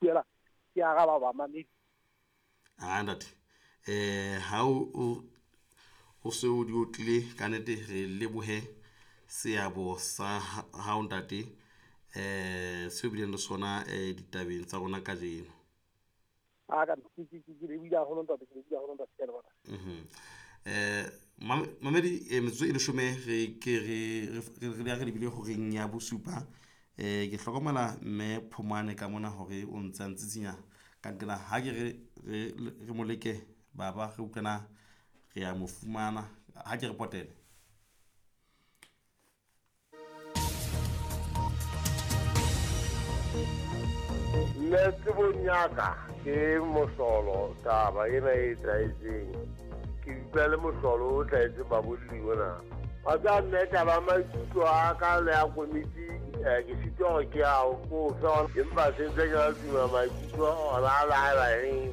ipuela ke araba bamamedi. A ntate, ha o se o di otlile ka nnete, re lebohe seabo sa hao ntate, seo bileng le sona ditabeng tsa rona kajeno. A ka ke lebohile haholo ntate, ke lebohile haholo ntate, ke a leboha. Mamedi, metsotso e 10 re ke re lebile horeng ya bosupa. Ke hlokomela mme Phomane ka mona hore o ntse a ntsitsinya ka nqena, ha ke re mo leke baba, re utlwana re a mo fumana, ha ke re potele. Nne tsebong ya ka ke mohlolo taba ena e etsahetseng. Ke utlwa le mohlolo o tlwaetseng babolli ona. Wa tseba mme, taba ya maikutlo a ka le ya komiti, ke sitwa hore ke a ko fe ona, empa se ntse ke na le tumelo maikutlo ona a le haeba eng,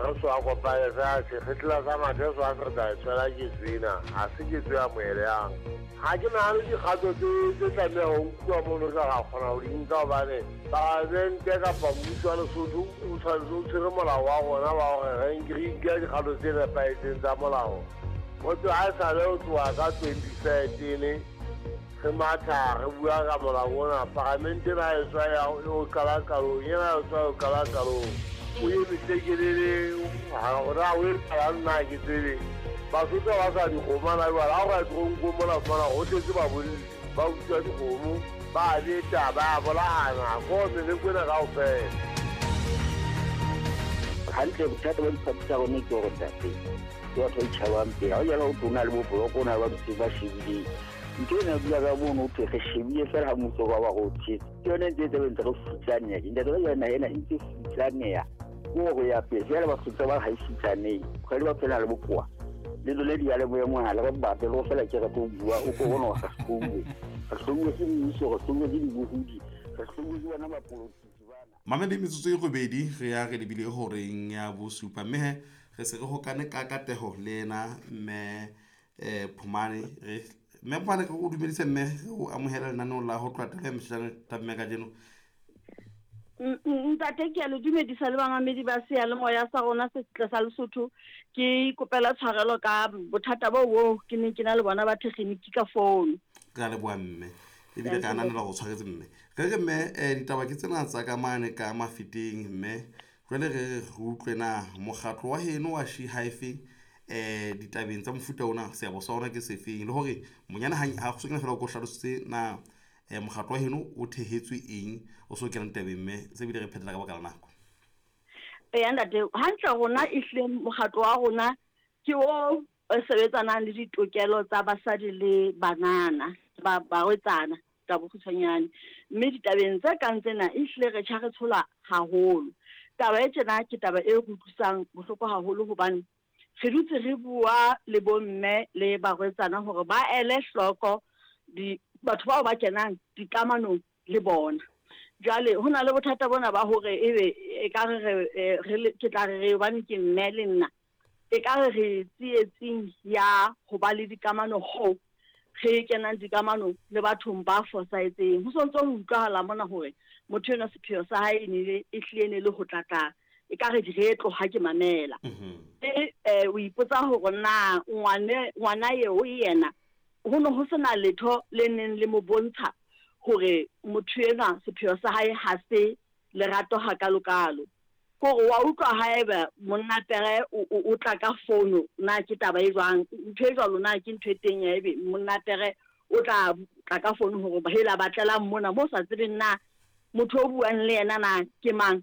re so a kopane fela sekgetla sa mathe so a se re tla e tshwela ketso ena, ha se ketso e amohelehang. Ha ke nahane dikgato tse tlameha ho nkuwa mono re ka ra kgona ho di nka, hobane palamente kapa mmuso wa Lesotho o tshwanetse o tshwere molao wa rona wa hore re nke dikgato tse nepahetseng tsa molao. Motho ha e sale ho tloha ka 2013 re matha re bua ka molao ona, palamente ena e tswa ya o qala qalong, ena e tswa o qala qalong, o emise kelele hore o etsalang nna ke tsebe. Basotho ba sa dikgomo na jwale, ha o ka toronkong mona fumana ho tletse babolli ba utswa dikgomo, ba beta, ba bolahana ko meleko ena kaofela. Hantle, bothata ba diphathi tsa rona ke hore ntate ke batho ba itjhabang pele. Ha o jala ho thwe o na le bo-block, o na le ba dutseng ba shebileng ntho ena, dula ka mono, ho thwe re shebile fela ha mmuso ba ba re o tshetse. Ke yone ntse e tlabe ntse re futsaneha. Ntate ba jale naha ena e ntse futsaneha ke hore ya pele jale Basotho ba re ha e futsanehe kgwedi ba phela le bokowa le lone diyalemoya mohala re bape le go fela ke re tlo bua o ko bona re hlouwe, re hlouwe ke mmuso, re hlouwe ke dibohodi, re hlouwe ke bona bapolotiki bana. Mamedi, metsotso e 8 re ya re lebile horeng ya bosupa, mme he re se re hokane ka kateho le ena mme Phomane. Re mme Phomane, re o dumedise mme re o amohela lenaneong la ho tloha taba ya mehlano tabeng kajeno. Ntate, ke a le dumedisa le bamamedi ba seyalemoya sa rona se setle sa Lesotho. Ke ikopela tshwarelo ka bothata bo bo ke neng ke na le bona ba tekgeniki ka founu. Re a leboha mme, ebile re ananela go tshwaretse mme. Re re mme, ditaba ke tsena tsa ka mane ka Mafeteng mme, jwale re re re utlwe na mokgatlo wa heno wa She Hyphen ditabeng tsa mofuta ona seabo sa ona ke sefeng, le hore monyane ha go sokena fela o ko hlalositse na mokgatlo wa heno o thehetswe eng o so kena ditabeng mme, se bile re phetela ka baka la nako. Eya ntate, hantle rona ehlile mokgatlo wa rona ke o sebetsanang le ditokelo tsa basadi le banana ba barwetsana ka bokgutshwanyane, mme ditabeng tse kang tsena ehlile re tjha re tshola haholo. Taba e tjena ke taba e re utlwisang bohloko haholo, hobane re dutse re bua le bomme le barwetsana hore ba ele hloko di batho bao ba kenang dikamanong le bona. Jwale ho na le bothata bona ba hore ebe e ka re re ke tla re re hobane ke mme le nna, e ka re re tsietsing ya ho ba le dikamano ho re kenang dikamano le bathong ba fosahetseng. Ho sontso ho utlwahala mona hore motho enwa sepheo sa hae e ne e hlile ne le ho tlatla e ka re diretlo ha ke mamela. E o ipotsa hore na ngwana eo yena ho ne ho sena letho le neng le mo bontsha hore motho enwa sepheo sa hae ha se lerato hakalokalo. Kore wa utlwa haeba monna pere o tla ka fono, na ke taba e jwang ntho e jwalo, na ke ntho e teng ya ebe monna pere o tla tla ka fono hore hela batlelang mona mo sa tsebeng na motho o buang le yena na ke mang.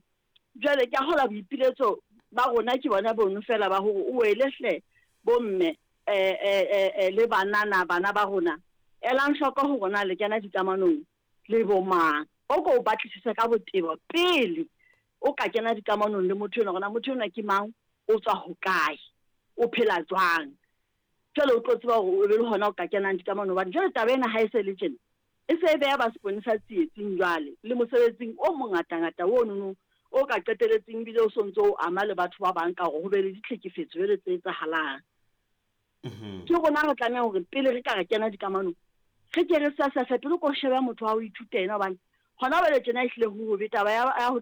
Jwale ke a hola boipiletso ba rona ke bona bono fela ba hore o wele hle bomme le banana bana ba rona, elang hloko hore na le kena dikamanong le bo mang. O ko o batlisise ka botebo pele o ka kena dikamanong le motho enwa, hore na motho enwa ke mang, o tswa hokae, o phela jwang. Jwale o tlo tseba hore o be le hona o ka kenang dikamanong, hobane jwale taba ena ha e se le tjena e se e beha ba seponesa tsietsing jwale le mosebetsing o mongatangata ono o ka qeteletseng ebile o sontso o ama le batho ba bang ka hore ho be le ditlhekefetso jwale tse etsahalang. Ke rona re tlameha hore pele re ka re kena dikamanong re ke re sefe pele ko shebe motho wa ho ithuta ena, hobane hona jwale tjena ehlile ho hobe taba ya ho.